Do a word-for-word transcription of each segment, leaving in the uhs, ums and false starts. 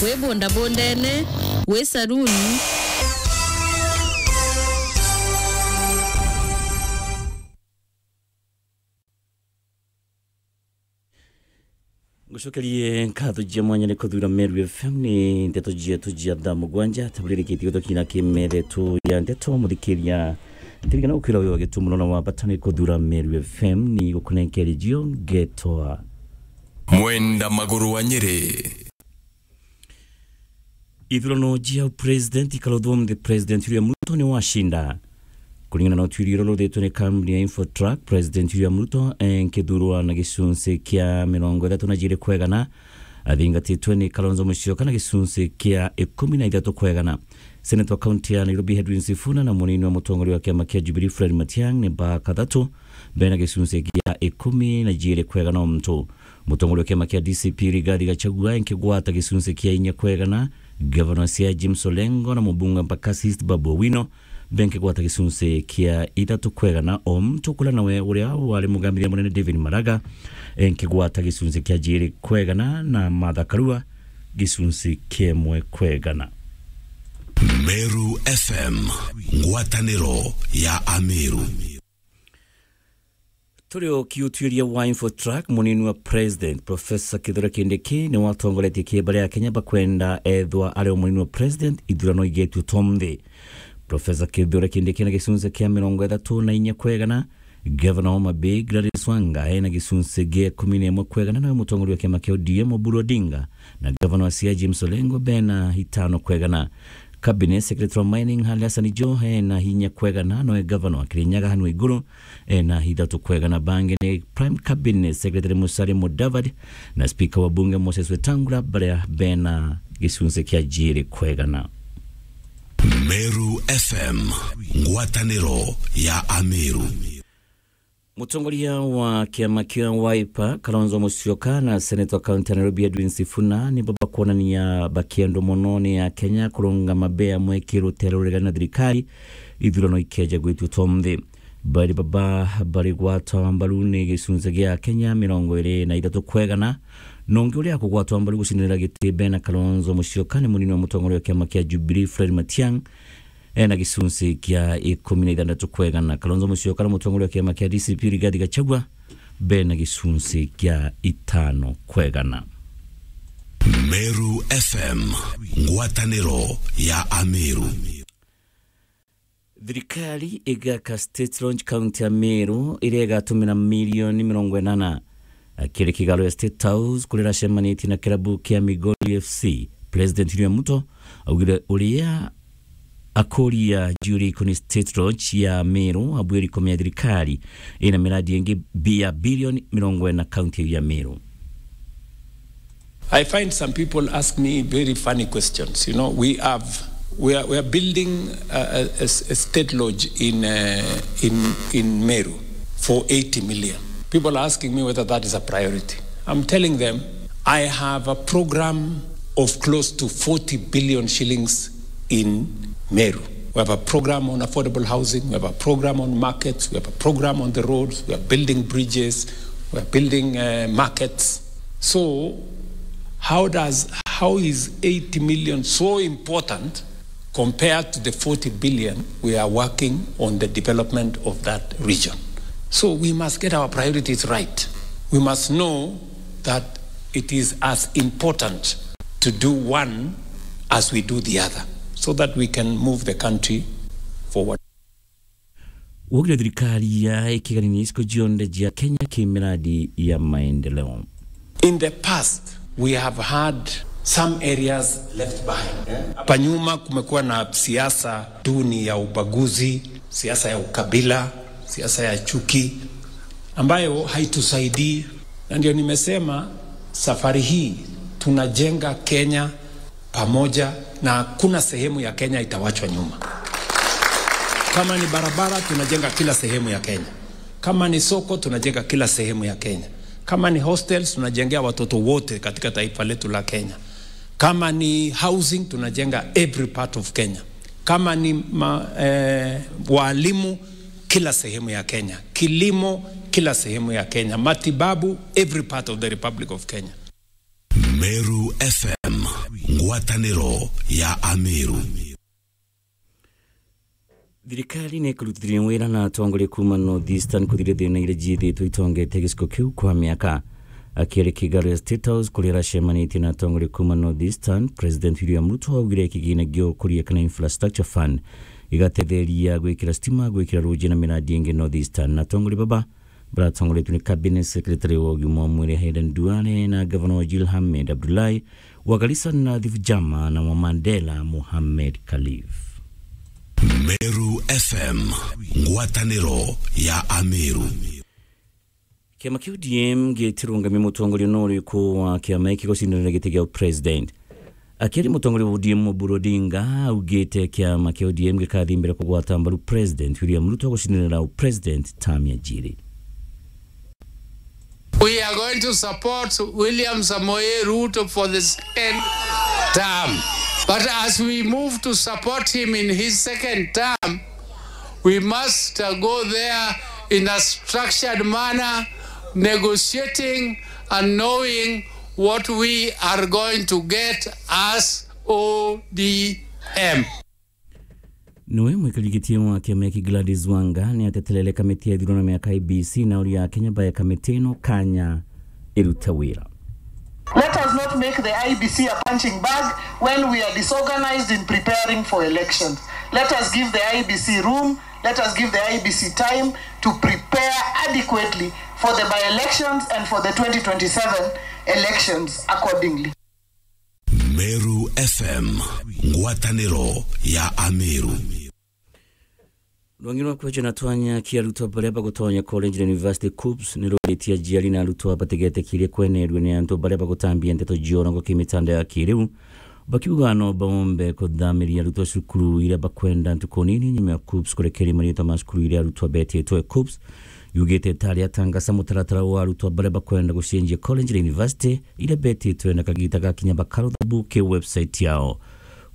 Wi bundabundene, wi saruni. Ngucokerie nkatho cia mwanya ni kuthura Meru F M. Ni ndeto cietu cia thaa mugwanja, taburirikitie gutokina kimethe tu ya ndeto, muthikiria. Ndirikana ukwira wi wa gitumo na wa bata ni kuthura Meru F M, ni gukunenkeria cio ngetwa Mwenda Maguru wa Nyeri. Ithurano cia president ikaruthwo nthi, President William Ruto ni wacinda. Kuringana na utuirio uria uruthetwe ni kambuni ya Infotrack, President William Ruto enkithurwa na gicunci kia mirongo ithatu na jiiri kwa igana, athingatitwe ni Kalonzo Musyoka na gicunci kia ikumi na ithatu kwa igana. Senator wa kaunti ya Nairobi Edwin Sifuna na munini wa mutongoria wa kiama kia Jubilee Fred Matiang'i ni ba kathatu bena gicunci kia ikumi na jiiri kwa igana o muntu. Mutongoria wa kiama kia D C P Rigathi Gachagua enkigwata gicunci kia inya kwa igana, Gavana wa Siaya James Orengo na mubunge wa Embakasi East Babu Owino benkigwata gicunci kia ithatu kwa igana, o muntu kula nawe uria wari mugambithia munene David Maraga enkigwata gicunci kia jiiri kwa igana, na Martha Karua gicunci kia imwe kwa igana. Meru F M, ngwataniro ya Ameru. Turi o kiutuiria wa Infotrack, munini wa president Professor Kithure Kindiki ni watongoretie kieba ria Kenya bakwenda ethwa ari o munini wa president ithurano igetue to nthi. Professor Kithure Kindiki na gicunci kia mirongo ithatu na inya kwa igana, Gavana wa Homa Bay Gladys Wanga ena gicunci gia ikumi na imwe kwa igana, nawe mutongoria wa kiama kia O D M Oburu Odinga na Gavana wa Siaya James Orengo bena itano kwa igana. Cabinet Secretary wa Mining Hali Hassan Joho ena inya kwa igana, nawe Gavana wa Kirinyaga Anne Waiguru ena ithatu kwa igana. Bangi ni Prime Cabinet Secretary Musalia Mudavadi na Speaker wa Bunge Moses Wetangula, baria bena gicunci kia jiiri kwa igana. Meru F M, ngwataniro ya Ameru. Mutongoria wa kiama kia Wiper, Kalonzo Musyoka, na Senator wa kaunti ya Nairobi, Edwin Sifuna, nibo bakwonania bakiendwa mono ni Akenya kurungama bea mweki rutere uregani na thirikari ithurano ikeja gwitua to nthi. Bairi baba bari gwatwa mbaru ni gicunci gia Akenya mirongo iri na ithatu kwa igana. Na ungi uria akugwatwa mbaru gucindanira giti bena Kalonzo Musyoka ni munini wa mutongoria wa kiama kia Jubilee, Fred Matiang'i, ena gicunci kia ikumi na ithandatu kwa igana. Kalonzo Musyoka na mutongoria wa kiama kia D C P Rigathi Gachagua bena gicunci kia itano kwa igana. Meru F M, ngwataniro ya Ameru. Thirikari igaka State Lodge kaunti ya Meru, iria igatumira milioni mirongo inana. Akiri kigaro ya State House kuria iracemanitie na kirabu kia Migori F C, President William Ruto augire uria akuria juu ria ikoni State Lodge ya Meru, abwiri komea thirikari ina miradi ingi bi-, ya bilioni mirongo ina kaunti ya Meru. I find some people ask me very funny questions. You know, we have, we are, we are building a, a, a s-, a state lodge in, uh, in, in Meru for eighty million. People are asking me whether that is a priority. I'm telling them, I have a program of close to forty billion shillings in Meru. We have a program on affordable housing, we have a program on markets, we have a program on the roads, we are building bridges, we are building, uh, markets. So, how does, how is eighty million so important compared to the forty billion we are working on the development of that region? So, we must get our priorities right. We must know that it is as important to do one as we do the other, so that we can move the country forward. Wogire thirikari ya ikiganini iciko cionthe cia Kenya ki miradi ya maendeleo. In the past, we have had some areas left behind. Hapa nyuma kumekuwa na siasa duni ya ubaguzi, siasa ya ukabila, siasa ya chuki, ambayo haitusaidii. Na ndio nimesema safari hii tunajenga Kenya pamoja na hakuna sehemu ya Kenya itawachwa nyuma. Kama ni barabara, tunajenga kila sehemu ya Kenya. Kama ni soko, tunajenga kila sehemu ya Kenya. Kama ni hostels, tunajengea watoto wote katika taifa letu la Kenya. Kama ni housing, tunajenga every part of Kenya. Kama ni ma-, eh, walimu, kila sehemu ya Kenya. Kilimo, kila sehemu ya Kenya. Matibabu, every part of the Republic of Kenya. Meru F M, Ngwataniro ya Ameru. Thirikari ni ikurutithania wira na atongoria kuuma North Eastern kuthiria thina iria ciithitwe itongete giciko kiu kwa miaka. Akiaria kigaro ya State House kuria aracemanitie na atongoria kuuma North Eastern, President William Ruto augire kigina gia ukuria kana infrastructure fund igatetheria gwikira stima, gwikira ruji na miradi ingi North Eastern. Na atongoria baba baratongoretwe ni Cabinet Secretary wa ugima wa mwiri Haydn Duale na Governor wa Jil Hamed Abdullahi wa Garissa Nadhif Jama na wa Mandela Mohamed Khalif. Meru F M, ngwataniro ya Ameru. Kiama kia O D M gitirungamia mutongoria no uriku wa kiama giki gucindanira giti gia president. Akiaria, mutongoria wa O D M Oburu Odinga augite kiama kia O D M gikathimbira kugwata mbaru President William Ruto gucindanira president term ya jiri. We are going to support William Samoei Ruto for the second term. But as we move to support him in his second term, we must, uh, go there in a structured manner, negotiating and knowing what we are going to get as O D M. Niwe mwikari giti wa kiama giki Gladys Wanga ni ateterere kamiti ya ithurano miaka I E B C na uria Akenya bae kamiti ino kanya irute wira. Let us not make the I E B C a punching bag when we are disorganized in preparing for elections. Let us give the I E B C room, let us give the I E B C time to prepare adequately for the by-elections and for the twenty twenty-seven elections accordingly. Meru F M, ngwataniro ya Ameru. Rwangi rwa kweja na twanya kia arutwa baria bagutonya college na university, KUPPS, ni ruritie aciari na arutwa batigetikirie kwenerua ni antu baria bagutambia ndeto cia urongo kimitandao ya kiriu, bakiuga no baombe kuthamiria arutwa cukuru iria bakwenda ntuku nini nyuma ya KUPPS kurekeria mariitwa ma cukuru iria arutwa betitwe. KUPPS yugite itari atangasa mutaratara wa arutwa baria bakwenda gucenjia college na university iria betitwe na kagita gakinya bakarutha buki website yao.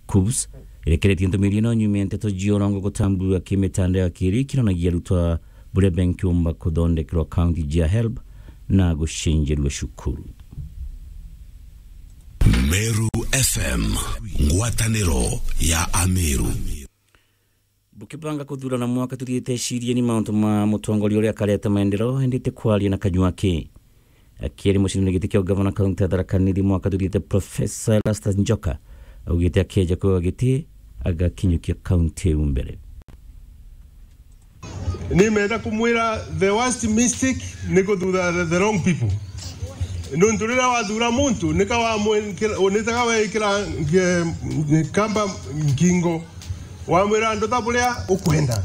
KUPPS irekeretie ntumiri ino nyuma ya nteto cia urongo gutambua kimitandao ya kiri kiranagia arutwa buria benkiumba kuthondekerwa akaunti cia HELB na gucenjerua cukuru. Meru F M, ngwataniro ya Ameru. Bukibanga kuthurana mwaka tuthiite, cirieni mauntu ma mutongoria uria akareta maendeleo, indi ti kwaria na kanyua aki. Akiaria mucindani giti kia ugavana kaunti ya Tharaka Nithi mwaka tuthiite, Professor Erastus Njoka augite akeja kwiwa giti agakinyukia kaunti iu mbere. Nimenda kumwira the worst mistake ni kuthura the, the wrong people. Nuntu riria wathura muntu, nika wamwikira, unitaga wekira nge-, kamba ngingo, wamwira andu ta buria ukwenda.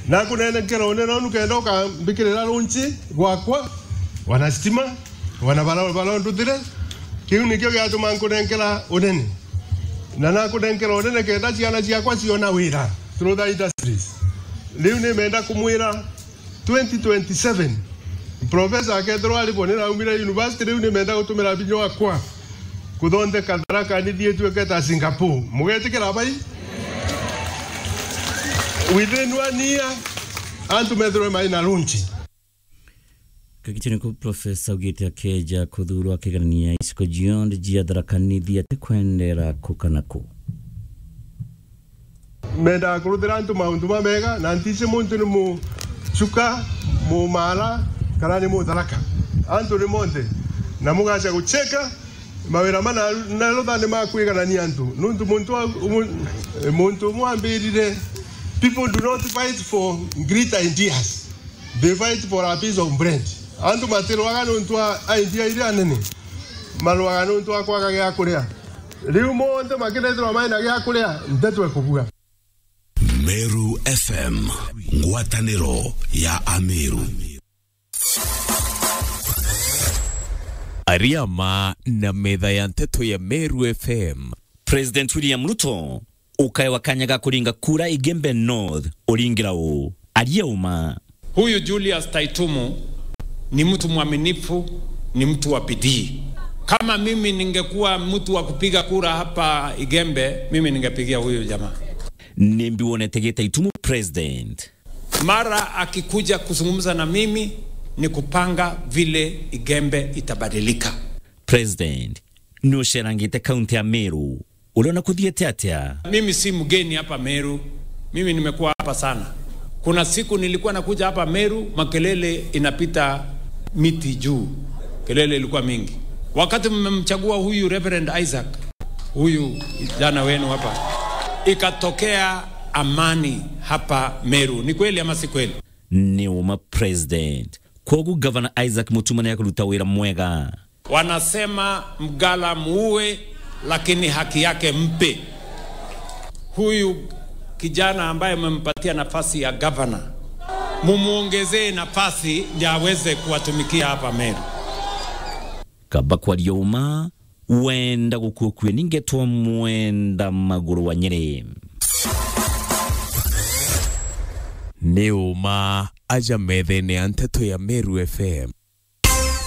Na kunenekera unene unu kenda ukambikirira runchi gwakwa, wana stima, wana bara, bara nduthire. Kiu nikio giatuma nkunenkera unene. Na nakunenkera unene kenda ciana ciakwa ciona wira through the industries. Riu nimenda kumwira twenty twenty-seven, professor akethirwa aribo niraumire university, riu nimenda gutumira binya wakwa kuthondeka Tharaka Nithi ituike ta Singapore. Mugetikira bai? Within one year, antu methirwe mai na lunch. Kagitene ku professor augite akeja kuthurwa akiganania iciko cionthe cia Tharaka Nithi atikwendera ku kana ku. Mendaga kuruthira antu maundu mamega, na ntici muntu ni Muchuka, Mumara, kana ni Mutharaka. Antu ni monthe. Na mugaca gucheka, mawira mana na rutha ni makwiganania antu. Nuntu muntu wa-, umu-, muntu umwe ambirire, "People do not fight for great ideas. They fight for a piece of bread." Antu matirwaga nuntu wa idea iria nene. Marwaga nuntu wa kwaga gia kuria. Riu monthe makirethirwa mai na gia kuria, nteto ekubua. Meru F M, ngwataniro ya Ameru. Ariama na metha ya nteto ya Meru F M. President William Ruto ukaewa kanya ga kuringa kura Igembe North, uringira uu? Aria uma. Huyu Julius Taitumu ni mtu mwaminifu, ni mtu wa bidii. Kama mimi ningekuwa mtu wa kupiga kura hapa Igembe, mimi ningepigia huyu jamaa. Nimbi wonete gita Itumu president? Mara akikuja kuzungumza na mimi, ni kupanga vile Igembe itabadilika. President, ni ucerangite kaunti ya Meru. Uliona kuthiete atia? Mimi si mgeni hapa Meru. Mimi nimekuwa hapa sana. Kuna siku nilikuwa nakuja hapa Meru, makelele inapita miti juu. Kelele ilikuwa mingi. Wakati mmemchagua huyu Reverend Isaac, huyu kijana wenu hapa, ikatokea amani hapa Meru. Ni kweli ama si kweli? Ni uma president. Kwogu Governor Isaac Mutuma ni akuruta wira mwega. Wanasema mgala muue, lakini haki yake mpe. Huyu kijana ambaye mmempatia nafasi ya governor, mumuongezee nafasi ndio aweze kuwatumikia hapa Meru. Kaba kwaria uma, wenda gukua kue ningetwa mwenda maguru wa Nyeri. Ni uma aja methene ya nteto ya Meru F M.